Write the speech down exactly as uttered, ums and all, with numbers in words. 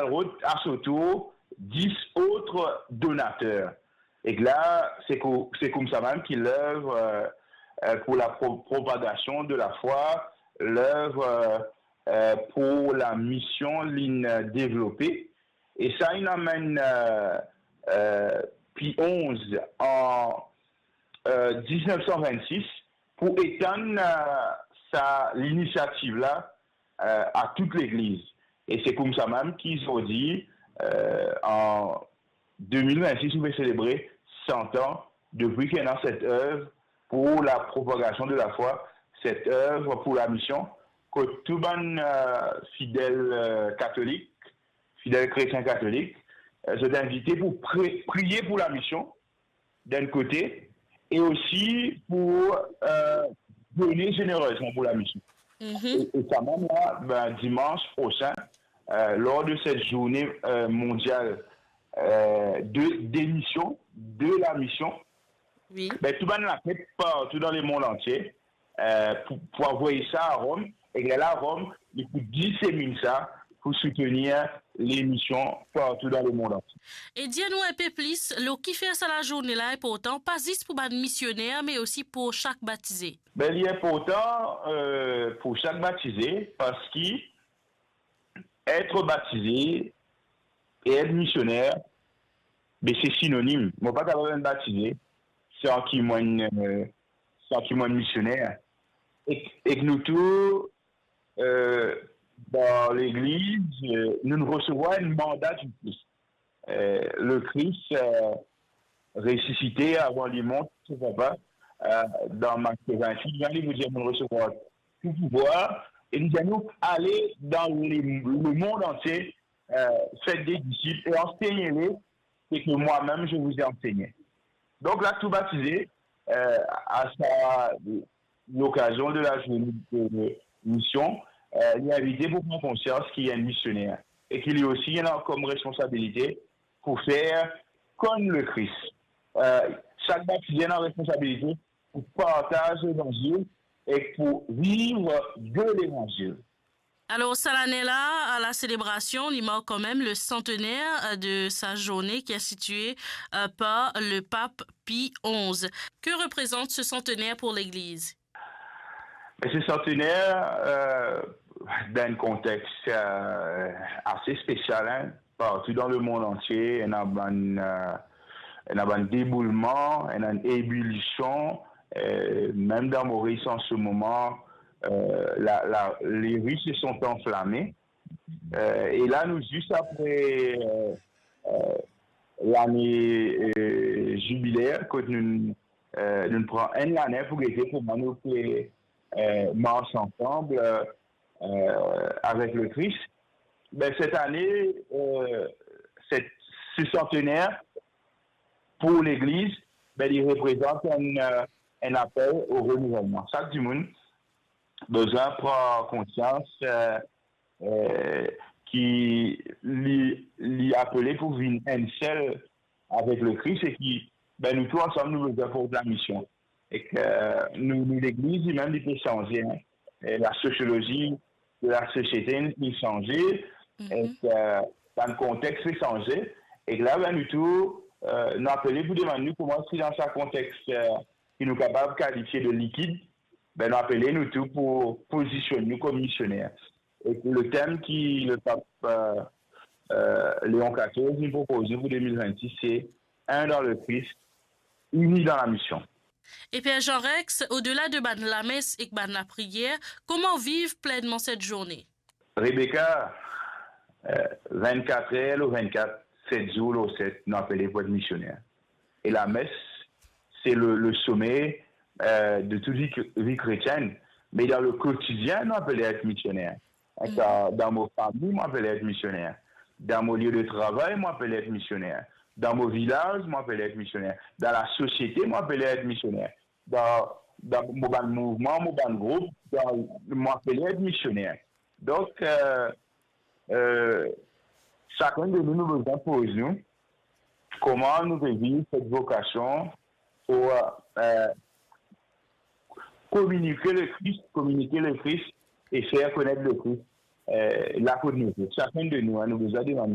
rod a so tour dis ot donater. Ek la, se ko-, se koumsa mem ki lev, euh, euh, pour la pro-, propagation de la foi, lev, euh, euh, pour la mision li'nn devlope. E sa inn amenn, euh, euh, Pi onz an, euh, diznef san vennsis pou etann, euh, sa linisiativ la, euh, a tout legliz. E se koumsa mem ki zordi, euh, an de mil vennsis, nou pe selebre san an depi ki ena set ev pour la propagation de la foi, set ev pour la mision, kot tou bann, euh, fidel, euh, katolik, fidel kretien katolik, euh, zot invite pou pri-, priye pour la mision, d'un côté, et aussi pour, euh, donner généreusement pour la mission. Mhm. Et, et quand même, là, ben, dimanche prochain, euh, lors de cette journée, euh, mondiale, euh, de, des missions, de la mission, oui, ben, tou bann laket partou dan lemond antie, euh, pou, pou avoy sa a Rom, e lerla Rom, li pou diseminn sa pou soutenir lemision partou dan lemond antie. E dir nou inpe plis lor kifer sa lazourne la inportan, pa zis pou bann misioner, me osi pou sak batize. Ben, li inportan, euh, pou sak batize, parski et batize e et misioner, be se sinonim. Mo pa kapav enn batize san ki mo enn, euh, san ki mo enn misioner. Ek, ek nou tou, euh, dan legliz, euh, nou resevwar enn manda di Kris. Euh, Lekris, euh, resisite avan li mont so Papa, euh, dan Mat vennwit, li dir, mo resevwar tou pouvwar, e li dir nou, ale dan le, lemond antie, euh, faites des disciples et enseignez-les ce que moi-même je vous ai enseigné. Donk la, tou batize, euh, a sa lokazion de la zourne de mision, euh, li invite pou pran konsians ki enn misioner e ki li osi ena kom responsabilite pou fer konn Lekris. Euh, sak batize ena responsabilite pou partaz levanzil e pou viv de levanzil. Alors, sa lane la, à la célébration, li mark quand même le centenaire, euh, de sa journée qui est instituée, euh, par le pape Pie onze. Que représente ce centenaire pour l'Église ? Ben, se santener, euh, dan enn kontex, euh, ase spesial, hein. Partou dan lemond antie, ena bann, euh, ena bann deboulman, ena enn ebulision, euh, mem dan Moris an se moman, euh, la, la, les rues se sont enflammées. Euh, e la, nou zis apre, euh, euh, lane, euh, zibiler, kot nou, euh, nou pran enn lane pou gete kouma nou pe, euh, mars ansam, euh, euh, avek Lekris. Ben, set ane, euh, set, se santener pou Legliz, ben, li reprezant enn, euh, enn apel o renouvelman. Sak dimoun bizin pran konsians, euh, euh, ki li, li apele pou vinn enn sel avek Lekris e ki, ben, nou tou ansam, nou bizin port lamision. Ek, euh, nou, nou Legliz, limem, li pe sanze, hein. E la sosiolozi de la sosiete, li sanze. Mhm. Ek, euh, dan kontex, li sanze. Ek la, ben, nou tou, euh, nou apele pou demann nou kouma si dan sa kontex, euh, ki nou kapav kalifie de likid, ben, nou apele nou tou pou pozisionn nou kom misioner. E le tem ki le pap, euh, euh, Leon katorz, li propoz nou pou de mil vennsis, se un dans le Christ, uni dans la mission. E Père Jean Rex, odela de bann lames ek bann lapriyer, kouma viv plennman set zourne? Rebecca, euh, vennkat er lor vennkat, set zour lor set, nou apele pou et misioner. E lames, se le, le some, euh, de tout vi, vi kretienn. Me dan le kotidien, nou apele et misioner. Mhm. Dan, dan mo fami, mo apele et misioner. Dan mo lie de travay, mo apele et misioner. Dan mo vilaz, mo apele et misioner. Dan lasosiete, mo apele et misioner. Dan, dan mo bann mouvman, mo bann group, dan, mo apele et misioner. Donk, euh, euh, sakenn de nou, nou bizin poz nou, kouma nou pe viv set vokasion pou, euh, kominike Lekris, kominike Lekris e fer konet Lekris, euh, la kot nou ye. Sakenn de nou, hein, nou bizin demann